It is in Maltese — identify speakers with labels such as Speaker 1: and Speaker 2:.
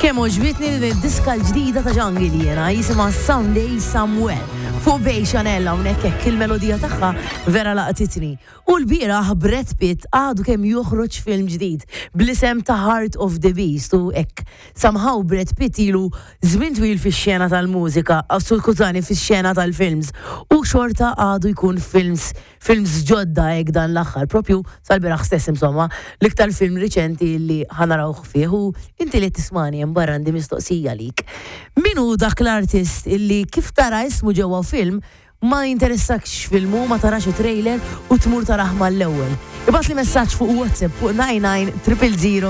Speaker 1: Kemm għoġbitni din id-diska l-ġdida ta' Jungle jiena, jisimha Someday Somewhere. Fuq Bay Chanel hawnhekk hekk il-melodija tagħha vera laqtitni. U l-bieraħ Brad Pitt għadu kemm joħroġ film ġdid bl-isem ta' Heart of the Beast u hekk somehow Brad Pitt ilu żmien twil fix-xena tal-mużika, skużani fix-xena tal-films u xorta għadu jkun films Films ġodda hekk dan l-aħħar, propju sal-bieraħ stess insomma, l-iktar film riċenti li ħa narawh fih u inti li qed tismagħni hemm barra għandi mistoqsija għalik. Min hu dak l-artist illi kif tara ismu ġewwa film ma jinteressakx x'film hu, ma tarax it-trailer u tmur tarah mal-ewwel? Ibgħatli messaġġ fuq WhatsApp fuq 99 000.